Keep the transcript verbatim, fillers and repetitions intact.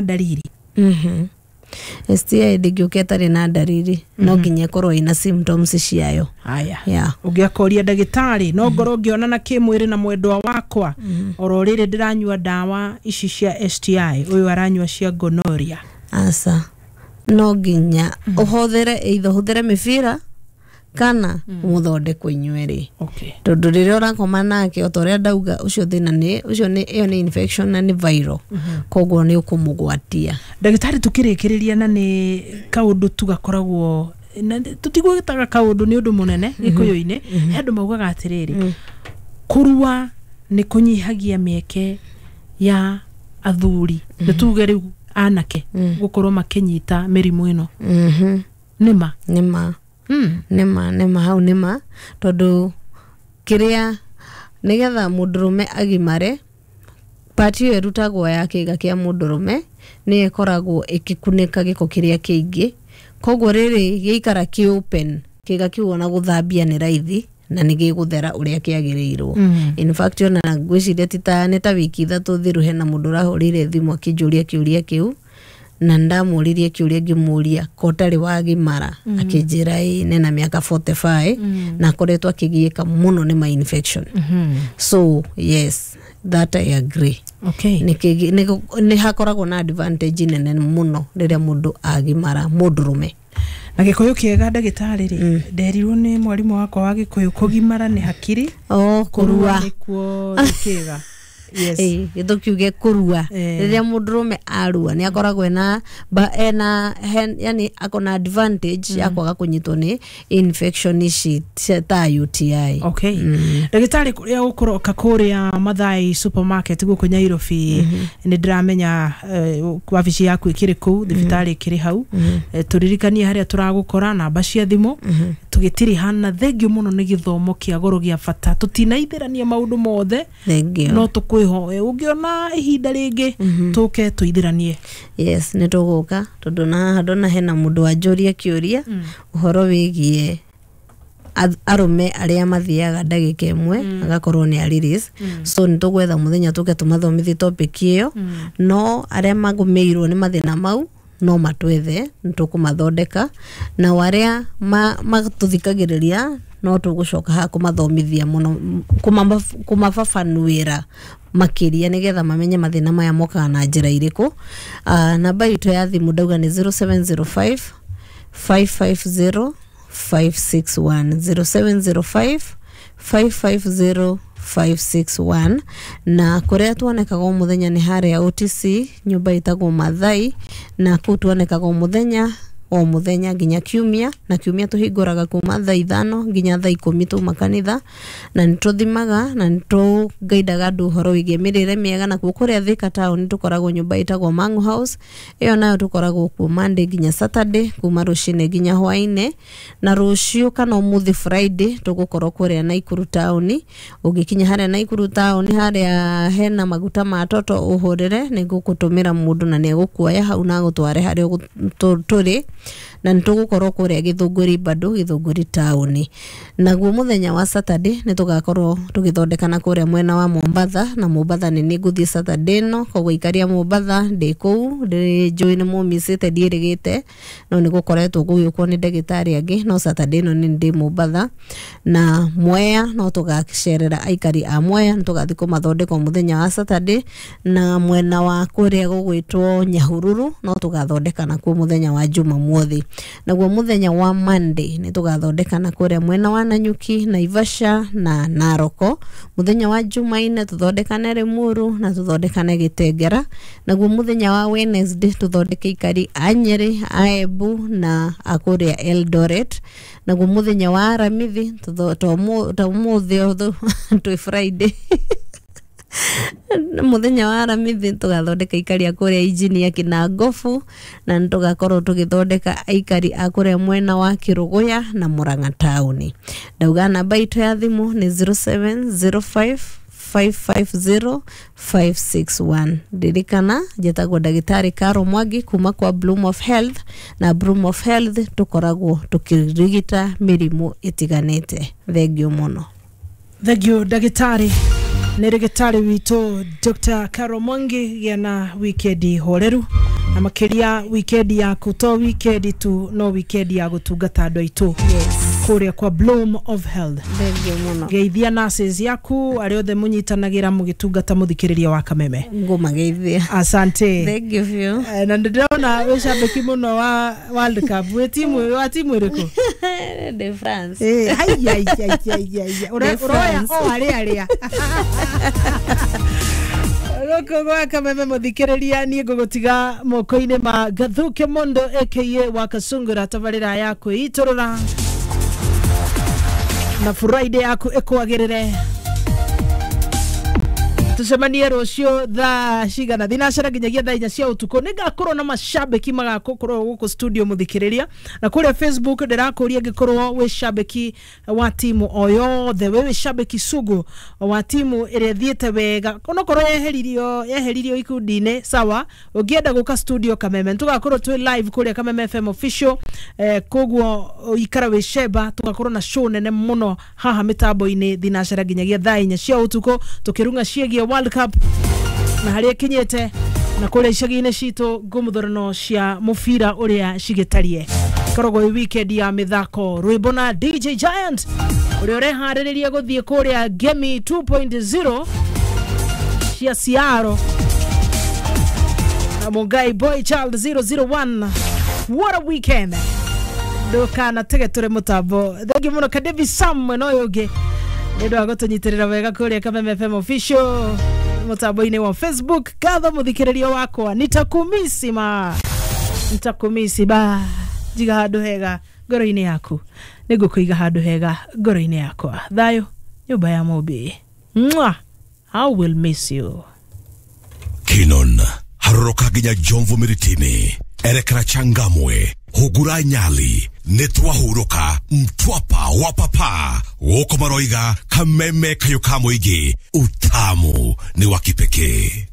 Ndariri? Mhm. S T I ndĩngĩũka ĩtarĩ na ndariri, no nginya ĩkorwo ĩna symptoms ciayo. Haya. Yeah. Ũngĩakoria ndagĩtarĩ, no ngorwo ngĩonana kĩmwĩrĩ na mwendwa wakwa oro rĩrĩ ndĩranyua ndawa ici cia S T I, ũyũ aranyua cia gonorrhea? Aca, no nginya ũhũthĩre, either ũhũthĩre mĩbira kana mũthondekwo inyuerĩ. Okay tondũ rĩrĩa ũrakoma nake, o ta ũrĩa ndauga, ũcio thĩna nĩ ũcio, nĩ ĩyo nĩ infection na nĩ viral, koguo nĩ ũkũmũgwatia. Ndagĩtarĩ, tũkĩrĩkĩrĩria, na nĩ kaũndũ tu gakoragwo na tũtigwĩtaga kaũndũ nĩ ũndũ mũnene gĩkũyũ-inĩ, he andũ maugaga atĩrĩrĩ, kũrua nĩ kũnyihagia mĩeke ya athuri, nĩ tuge rĩu anake, gũkorwo makĩnyita mĩrimũ ĩno. Mhm. Nĩ ma? Nĩ ma. Mm. Nĩma, nĩma, hau nĩma, tondũ kĩrĩa nĩgetha mũndũrũme agimare, part ĩyo ĩrutagwo ya kĩga kĩa mũndũrũme nĩyo ĩkoragwo ĩgĩkunĩka gĩko kĩrĩa kĩingĩ. Koguo rĩrĩ gĩikara kĩ open, kĩga kĩu ona gũthambia nĩ raithi na nĩ gĩgũthera ũrĩa kĩagĩrĩirwo. Mm. In fact, ona ngwĩciria ti ta nĩ ta wiki ithatũ thiru, hena mũndũ ũrahũrĩire thimũ akĩnjũria kĩũria kĩu, na ndamũririe kĩũria ngĩmũria ko ũtarĩ wagimara, akĩnjĩra ĩ nena mĩaka mĩrongo ĩna na ĩtano na akoretwo akĩgiĩka mũno nĩ ma infection. Mhm. So yes, that I agree. Okay nĩ kĩgi- nĩ nĩ hakoragwo na advantage nene mũno rĩrĩa mũndũ agimara, mũndũrũme. Na gĩkũyũ kĩega, ndagĩtarĩ rĩ, nderirwo nĩ mwarimũ wakwa wa gĩkũyũ, kũgimara nĩ hakiri. O kũrua. Nĩkuo nĩ kĩga, yes. Ĩĩ, gĩtũkiuge kũrua. Eh. Rĩrĩa mũndũrũme arua, nĩ akoragwo ena ba, ena hen, yani akona advantage ya kwaga kũnyitwo nĩ infection ici cia- ta U T I. Okay, ndagĩtarĩ, kũrĩa ũkũroka kũrĩa Mathai Supermarket gũkũ Nyairobi, nĩ ndĩramenya eh, wabici yaku ĩkĩrĩ kũu, thibitarĩ ĩkĩrĩ hau. Eh, tũririkanie harĩa tũragũkora, namba cia thimũ, tũgĩtirihana. Thengio mũno nĩ gĩthomo kĩa goro gĩa bata. Tũtinaithĩrania maũndũ mothe. Thengio. No tũkwĩhoe ũngĩona ihinda rĩngĩ tũke tũithĩranie. Yes, nĩ tũgũka, tondũ na haha ndona hena mũndũ wanjũria kĩũria ũhoro wĩgiĩ ath- arũme arĩa mathiaga ndagĩka ĩmwe agakorwo nĩ a release. So nĩ tũgwetha mũthenya tũke tũmathomithie topic ĩyo. No arĩa magũmĩirwo nĩ mathĩna mau no matwethe, nĩ tũkũmathondeka. Nao arĩa ma- matũthikagĩrĩria, no tũgũcoka haha kũmathomithia mũno, kũmama- kũmababanuĩra makĩria, nĩgetha mamenye mathĩna maya mokaga na njĩra irĩkũ. uh, namba itũ ya thimũ ndauga nĩ zero seven zero five five five zero five six one, zero seven zero five five five zero five six one. Na kũrĩa tuonekaga o mũthenya nĩ harĩa O T C, nyũmba ĩtagwo Mathai, na kũu tuonekaga o mũthenya o mũthenya nginya kiumia. Na kiumia tũhingũraga kuma thaa ithano nginya thaa ikũmi tuma kanitha, na nĩ tũthimaga na nĩ tũgaidaga andũ ũhoro wĩgiĩ mĩrĩre mĩega. Na kuo kũrĩa Thika town tũkoragwo nyũmba ĩtagwo Mangu House, ĩyo nayo tũkoragwo kuo Monday nginya Saturday, kuma rũcinĩ nginya hwainĩ. Na rũciũ kana ũmũthĩ Friday tũgũkorwo kũrĩa Naikuru town. Ũngĩkinya harĩa Naikuru town, harĩa hena maguta ma toto, ũhũrĩre, nĩ ngũgũtũmĩra mũndũ na nĩ egũkuoya hau na agũtware harĩa ũgũ- tũ- tũrĩ. Na nĩ tũgũkorwo kũrĩa Gĩthũngũri bado, Gĩthũngũri town. Naguo mũthenya wa Saturday nĩ tũgakorwo tũgĩthondekana kũrĩa mwena wa Mombatha, na Mombatha nĩ niĩ ngũthiĩ Saturday ĩno, koguo ikaria Mombatha ndĩ kũu. Ndĩ njũĩ nĩ mũmicĩte, ndiĩrĩgĩte, no nĩ gũkoretwo gũgĩũkwo nĩ ndagĩtarĩ angĩ, no Saturday ĩno nĩ ndĩ Mombatha. Na Mwea no tũgacerera aikari a Mwea, nĩ tũgathiĩ kũmathondeka mũthenya wa Saturday. Na mwena wa kũrĩa gũgwĩtwo Nyahururu no tũgathondekana kuo mũthenya wa Jumamothi. Naguo mũthenya wa Monday nĩ tũgathondekana kũrĩa mwena wa Nanyuki, Naivasha na Naroko. Mũthenya wa Jumaine tũthondekane Limuru na tũthondekane Gĩtengera. Naguo mũthenya wa Wednesday tũthondeke ikari a Nyeri, a Embu na a kũrĩa Eldoret. Naguo mũthenya wa Aramithi, tũtho- to ũmũ- to ũmũthĩ ũthũ twĩ Friday, mũthenya wa Aramithi tũgathondeka aikari a kũrĩa Injinia Kinangofu, na nĩ tũgakorwo tũgĩthondeka aikari a kũrĩa mwena wa Kĩrũgũya na Murang'a taũni. Ndauga namba itũ ya thimũ nĩ zero seven zero five five five zero five six one. Ndirikana njĩtagwo ndagĩtarĩ Caro Mwangi kuma kwa Bloom of Health, na Bloom of Health tũkoragwo tũkĩrigita mĩrimũ ĩtiganĩte. Thengio mũno. Thengio, ndagĩtarĩ. Nĩ rĩgĩtarĩ witũ Doctor Carol Mwangi. Gĩa na wikendi horeru na makĩria wikendi yaku to wikendi tu, no wikendi ya gũtungata andũ aitũ Yes. kũrĩa kwa Bloom of Health. Thengiũ mũno. Geithia nurses yaku, arĩa othe mũnyitanagĩra mũgĩtungata mũthikĩrĩria wa Kameme. Ngũmageithia. Asante. Thengiũ biũ. Eh, na ndĩrona wĩ cambĩki mũno wa World Cup. Wĩ timu wa timu ĩrĩkũ? Ndĩ France. Eh, haiya, haiya, haiya, haiya. Ũra- Ndĩ ũroya France. o harĩa arĩa gũkũ gwa Kameme. Mũthikĩrĩria, niĩ ngũgũtiga moko-inĩ ma Gathuke Mondo aka wa Kasungura, tabarĩra ya kwĩitũrũra, na Friday yaku ĩkwagĩrĩre. Tucemanie rũciũ thaa cigana? Thinacara nginyagia thaa inya cia ũtukũ. Nĩ ngakorwo na macambĩki magakorwo gũkũ studio, mũthikĩrĩria. Na kũrĩa Facebook ndĩrakũria, ngĩkorwo wĩ cambĩki wa timu o yothe, wĩ wĩ cambĩki sugu wa timu ĩrĩa ĩthiĩte wega, onokorwo yeheririo yeheririo ikundi-inĩ, sawa. Ũngĩenda gũka studio Kameme, tũgakorwo twĩ live kũrĩa Kameme F M official. eh, koguo ikara wĩ cemba, tũgakorwo na show nene mũno haha mĩtambo-inĩ thinacara nginyagia thaa inya cia ũtukũ, tũkĩrung'a ciĩgiĩ World Cup na harĩa ĩkinyĩte, na kũrĩa icagi-inĩ citũ ngũmũthorano cia mũbira ũrĩa cigĩtarie. Ĩkoragwo ĩ weekend ya mĩthako, rwĩmbo na D J Giant ũrĩa ũreharĩrĩria gũthiĩ kũrĩa Gemi two point zero cia Ciaro na Mungai Boy Child zero zero one. What a weekend! Ndũkanatege, tũrĩ mũtambo. Thengiũ mũno Kadevi Sam mwena ũyũ ũngĩ nĩ ũndũ wa gũtũnyitĩrĩra wega kũrĩa Kameme F M official mũtambo-inĩ wa Facebook. Ngatho mũthikĩrĩria wakwa, nitakumisi ma nitakumisi ba. Njiga handũ hega ngoro-inĩ yaku, nĩngũkũiga handũ hega ngoro-inĩ yakwa. Thayũ nyũmba ya Mũmbi. Mwah! I will miss you. Kinon haroroka nginya Jomvu Miritini, erekera Changamwe, hugura Nyali, nĩtwahurũka Mtwapa wa papa gũkũ maroiga Kameme kayũ ka mũingĩ, utamu ni wa kipekee.